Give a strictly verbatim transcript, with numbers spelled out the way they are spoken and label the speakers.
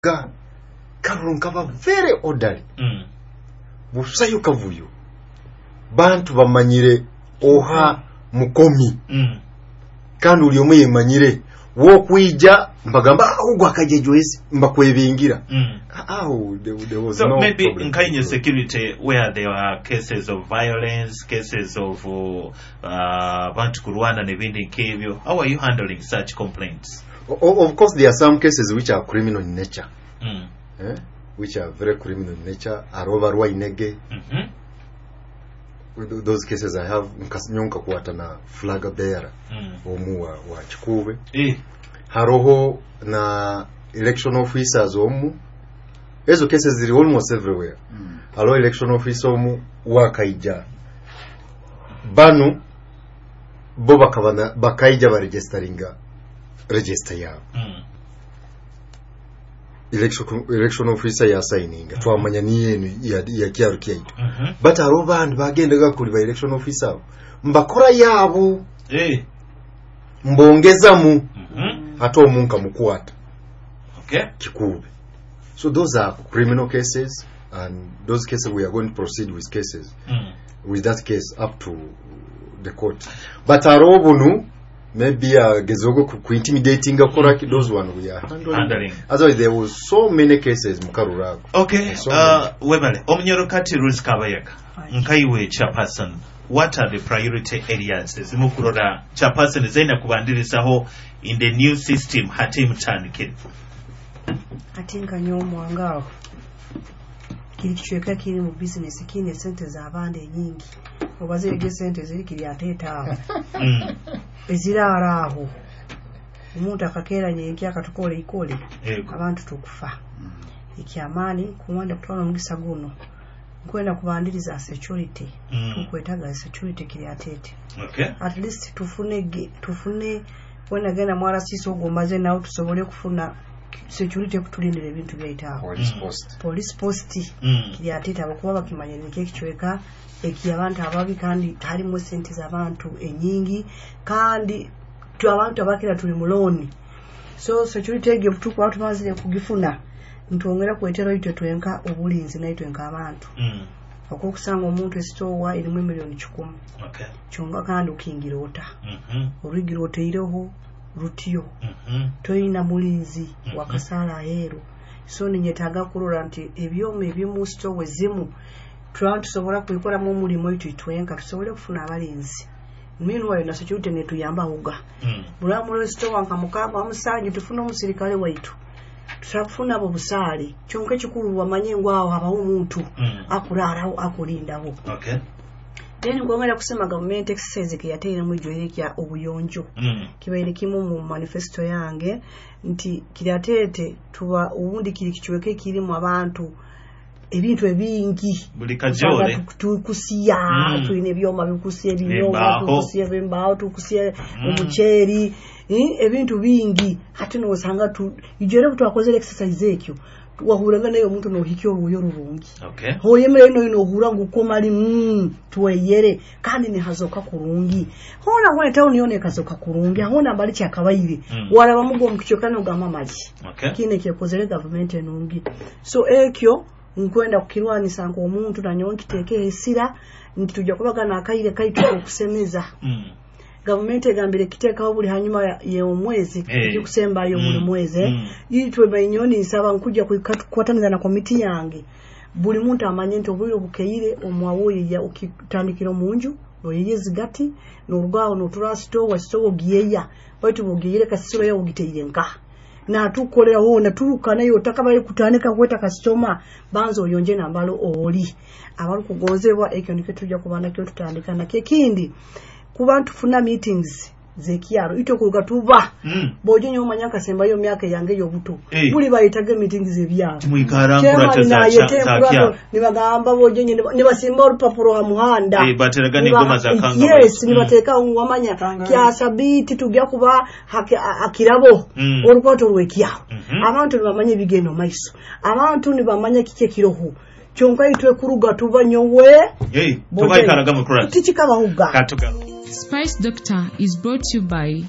Speaker 1: Karuru nkaba very orderly.
Speaker 2: Mm.
Speaker 1: Busayo kavuyo, bantu bamanyire oha mukomi.
Speaker 2: Mm.
Speaker 1: Kandi uli omwe yemanyire wokwija mbagamba ahubwo akajejwezi mbakwebingira.
Speaker 2: Mm.
Speaker 1: Aho there, there was
Speaker 2: So
Speaker 1: no
Speaker 2: maybe
Speaker 1: problem.
Speaker 2: in Kenya security where there are cases of violence, cases of uh, abantu kurwana n'ebindi nk'ebyo, how are you handling such complaints?
Speaker 1: O- of course there are some cases which are criminal in nature.
Speaker 2: Mm.
Speaker 1: Eh? Which are very criminal in nature, aroba rwainege.
Speaker 2: Mm-hmm.
Speaker 1: Those cases I have nka kukwata na flag bearer
Speaker 2: Mm.
Speaker 1: omu wa, wa Kikuube.
Speaker 2: Eh.
Speaker 1: Haroho na election officers omu, ezo cases ziri almost everywhere.
Speaker 3: Mm.
Speaker 1: Hariho election officer omu wakaija banu bo bakabana bakaija baregisteringa register yabo.
Speaker 2: Mm.
Speaker 1: election, election officer yasayininga, twamanya niyenu ya, ya kyaro kyaitu.
Speaker 2: Mm-hmm.
Speaker 1: But hariho bandi bagendaga kuli ba election officer abo mbakora yabo.
Speaker 2: Eh.
Speaker 1: Mbongezamu.
Speaker 2: Mm-hmm.
Speaker 1: Ate omunka mukwata.
Speaker 2: Okay.
Speaker 1: Kikuube. So those are criminal cases, and those cases we are going to proceed with cases
Speaker 2: Mm.
Speaker 1: with that case up to the court. But hariho bunu maybe uh, gezogo ku, ku intimidating koraki, those one we are handling.
Speaker 2: Handling.
Speaker 1: Otherwise there was so many cases mu karuru ako.
Speaker 2: Okay.
Speaker 1: So
Speaker 2: Uh, webale. Omunyoro kati Ruth Kabayaga. Nkaiwe chairperson. What are the priority areas ezimu kurora chairperson zaina kubandirizaho in the new system hati mutandikire?
Speaker 4: Ate nka nyoomwanga aho kiri kicweka kiri mu bizinesi kiine esente z'abaana enyingi oba zirega esente ziri kiri ateeta aho.
Speaker 2: Mm.
Speaker 4: Eziraara aho omuntu akakeera nyenkya akatukora ikole.
Speaker 2: Yego.
Speaker 4: Abantu tukufa ekyamaani kuwanda kutwala omugisa guno nkwenda kubandiriza security.
Speaker 2: Mm.
Speaker 4: Tukwetaga security kiri ateete.
Speaker 2: Okay.
Speaker 4: At least tufune ge- tufune wenagenda mwarasisi ogwo omaze nawe tusobole kufuna security ekutulindira ebintu byaitu aho.
Speaker 1: Police
Speaker 2: Mm.
Speaker 1: post.
Speaker 4: Police post.
Speaker 2: Mm.
Speaker 4: Kiri ateete abakuba bakimanyire nikyo ekicweka eki abantu ababi kandi harimu esente z'abantu enyingi kandi tu abantu abakira tuli mu loan, so security egyo tukuba tumazire kugifuna ntwongera kwetera itwe twenka obulinzi naitwe nk'abantu.
Speaker 2: Mm.
Speaker 4: Okwokusanga omuntu esitowa erimu emiliyoni kikumi.
Speaker 2: Okay.
Speaker 4: Kyonka kandi okingira ota?
Speaker 2: Mm-hmm.
Speaker 4: Orwigira oteireho rutyo.
Speaker 2: Mm-hmm.
Speaker 4: Toyina mulinzi.
Speaker 2: Mhm.
Speaker 4: Wakasaala aheeru, so ninyetaaga kurora nti ebyoma ebimu sitowa ezimu tulaba tusobola kwikoramu omulimu itwe twenka tusobole kufuna abalinzi. Meanwhile na security netuyamba huga.
Speaker 2: Mm.
Speaker 4: Buli sitowa nka mukaaga musanju tufune omusirikale waitu tusobola kufuna abo busaale, kyonka ekikulu wamanye ngu aho habaho omuntu
Speaker 2: Mm.
Speaker 4: akuraaraho akurindaho.
Speaker 2: Okay.
Speaker 4: Then nkwongera kusema gavumenti exercise keyateiremu ijoire kya obuyonjo.
Speaker 2: Mm.
Speaker 4: Kibaire kimu mu manifesto yange nti kirateete tuba ubundi kiri kicweka ekirimu abantu ebintu ebingi.
Speaker 2: Buli kajole.
Speaker 4: Tukusiya.
Speaker 2: Mm.
Speaker 4: Tulina ebyoma bikusiya ebinyobwa.
Speaker 2: Embaaho.
Speaker 4: Tukusiya embaaho, tukusiya
Speaker 2: Mm.
Speaker 4: omuceeri, eh, ebintu bingi ate nosanga tu ijere butwakozere exercise ekyo wahuraga naye omuntu nohikya orwoyo rurungi.
Speaker 2: Okay.
Speaker 4: Hoyemere ino ino ohura ngu komali mm, tweyere kandi nihazoka kurungi hona hona town yona ekazoka kurungi hona mbali kyakabaire.
Speaker 2: Mm.
Speaker 4: Waraba mugo mukichokana ogamba mali.
Speaker 2: Okay.
Speaker 4: Kine kyekozere gavumenti enungi, so ekyo nkwenda kukirwanisa nk'omuntu nanyowe nkiteeke esira nti tujja kubagana akaire kaitu okusemeza.
Speaker 2: Mm.
Speaker 4: Gavumenti egambire kiteekaho buli hanyuma ya- y'omwezi
Speaker 2: Eh.
Speaker 4: ekikusembayo
Speaker 2: Mm.
Speaker 4: buli mwezi.
Speaker 2: Mm.
Speaker 4: Itwe bainyoni nsaba nkujja kukwataniza na komiti yange buli muntu amanye nti obwire obukeire omwawoyeya okitandikira omunju noyeya ezigati norugaho notura sitowa sitowa ogiyeya baitu bwogiyere kasisiro yawe ogiteire nka natukolera wona turuka nayo otakabaye kutandika kweta kasitoma banza oyonje nambalo oli abarukugonzebwa ekyo nikyo tujja kuba nakyo tutandika nakyo ekindi kuba ntufuna meetings zekyaro itwe kuruga tuba
Speaker 2: Mm.
Speaker 4: bojo nyo omanya nkasembayo myaka yange y'obuto.
Speaker 2: Eh.
Speaker 4: Buli bayitaga meetings ebyaro.
Speaker 2: Timwikara nkurato za
Speaker 4: Chairman
Speaker 2: cha- za
Speaker 4: nayete
Speaker 2: kyalo.
Speaker 4: nibagamba bojo nye nibasimba orupapuro ha muhanda.
Speaker 2: Eh, bateraga
Speaker 4: Niba-
Speaker 2: n'engoma za kanga
Speaker 4: yes
Speaker 2: baitu.
Speaker 4: Nibateeka wamanya
Speaker 3: Kanga.
Speaker 4: kya sabiti tujja kuba haki- a- akirabo
Speaker 2: Mm.
Speaker 4: orukwato rw'ekyaro.
Speaker 2: Mhm.
Speaker 4: Abantu nibamanya ebigenda maiso, abantu nibamanya kiki ekiroho kyonka itwe kuruga tuba nyowe.
Speaker 2: Hey, tubaikaraga mu kurata.
Speaker 4: Tikikabahuga.
Speaker 2: Katuga.
Speaker 5: Spice Doctor is brought to you by